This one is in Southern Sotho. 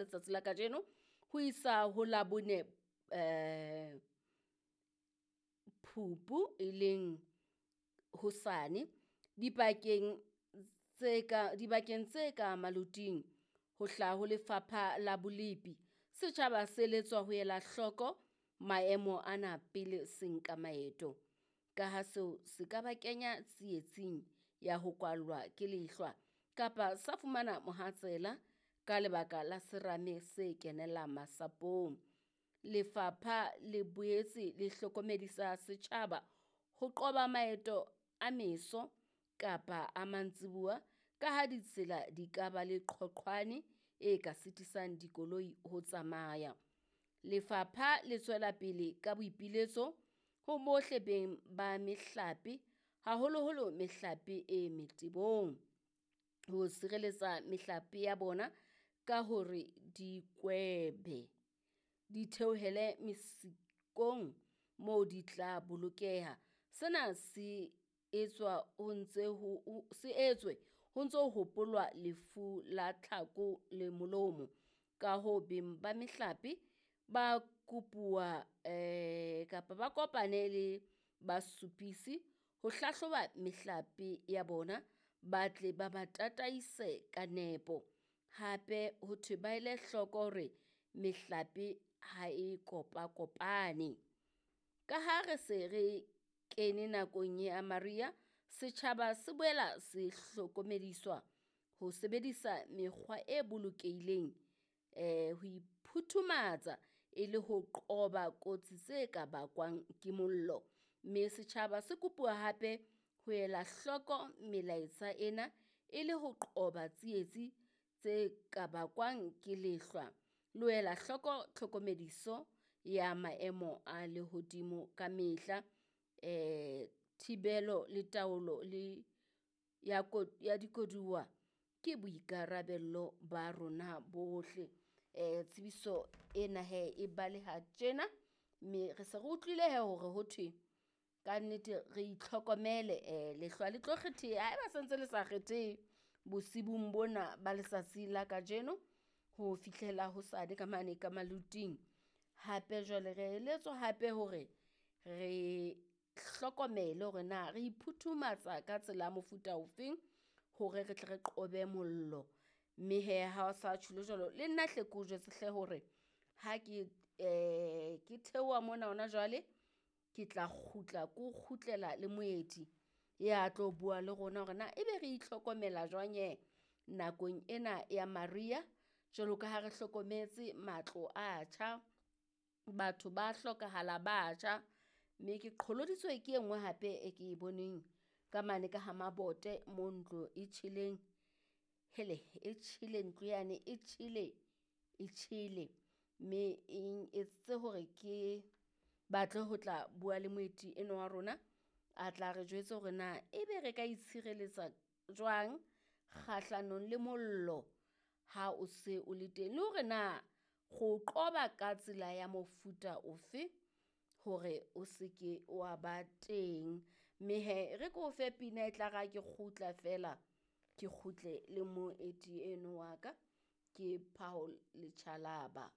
letsatsi la kajeno ho isa ho Labone um Phupu e leng hosane dipakeng tse ka dibakeng tse ka maloting ho hlaha ho Lefapha la Bolepi. Setjhaba se eletswa ho ela hloko maemo ana pele se nka maeto, ka ha seo se ka ba kenya tsietsing ya ho kwallwa ke lehlwa kapa sa fumana mohatsela ka lebaka la serame se kenella masapong. Lefapha le boetse le hlokomedisa setjhaba ho qoba maeto a meso kapa a mantsibuya ka ha ditsela di ka ba le qhoqhwane e ka sitisang dikoloi ho tsamaya. Lefapha le tswela pele ka boipiletso ho bohle beng ba mehlape, haholoholo mehlape e metebong, ho sireletsa mehlape ya bona ka hore di kwebe, di theohele mesikong moo di tla bolokeha. Sena se etswa ho ntse ho se etswe ho ntso hopolwa lefu la tlhako le molomo. Ka hoo beng ba mehlape ba kopuwa kapa ba kopane le basupisi ho hlahloba mehlape ya bona, ba tle ba ba tataise ka nepo. Hape ho thwe ba ele hloko hore mehlape ha e kopakopane. Ka ha re se re kene nakong ya mariha, setjhaba se boela se hlokomediswa ho sebedisa mekgwa e bolokehileng ho iphuthumatsa e le ho qoba kotsi tse ka bakwang ke mollo. Mme setjhaba se kopuwa hape ho ela hloko melaetsa ena e le ho qoba tsietsi tse ka bakwang ke lehlwa, le ho ela hloko tlhokomediso ya maemo a lehodimo ka mehla. Thibelo le taolo le ya ya dikoduwa ke boikarabello ba rona bohle. Tsebiso ena hee e baleha tjena, mme re se re utlwile hee hore ho thwe kannete re itlhokomele lehlwa le tlo kgetheha haeba sentse le sa kgethehe bosibung bona ba letsatsi la kajeno ho fihlela hosane ka mane ka maloting. Hape jwale re eletswa hape hore re hlokomele hore na re iphuthumatsa ka tsela ya mofuta ofeng hore re tle re qobe mollo. Mme hee ha o sa tjholo jwalo, le nna hle ke o jwetse hle hore ha ke ke theoha mona hona jwale, ke tla kgutla ko kgutlela le moeti ya tlo bua le rona hore na ebe re itlhokomela jwang hee nakong ena ya mariha. Jwalo ka ha re hlokometse matlo a tjha, batho ba hlokahala ba tjha, mme ke qholoditswe ke e nngwe hape e ke e boneng ka mane ka ha mabote mo ntlo e tjheleng. Hele, e tjhele ntlo yane e tjhele, e tjhele mme eng etseditse hore ke batle ho tla bua le moeti enwa wa rona, a tla re jwetse hore na ebe re ka itshireletsa jwang kgahlanong le mollo ha o se o le teng, le hore na re o qoba ka tsela ya mofuta ofe hore o se ke wa ba teng. Mme hee e re ke o fe pina e tlare ha ke kgutla feela, ke kgutle le moeti eno wa ka ke Paul Lechalaba.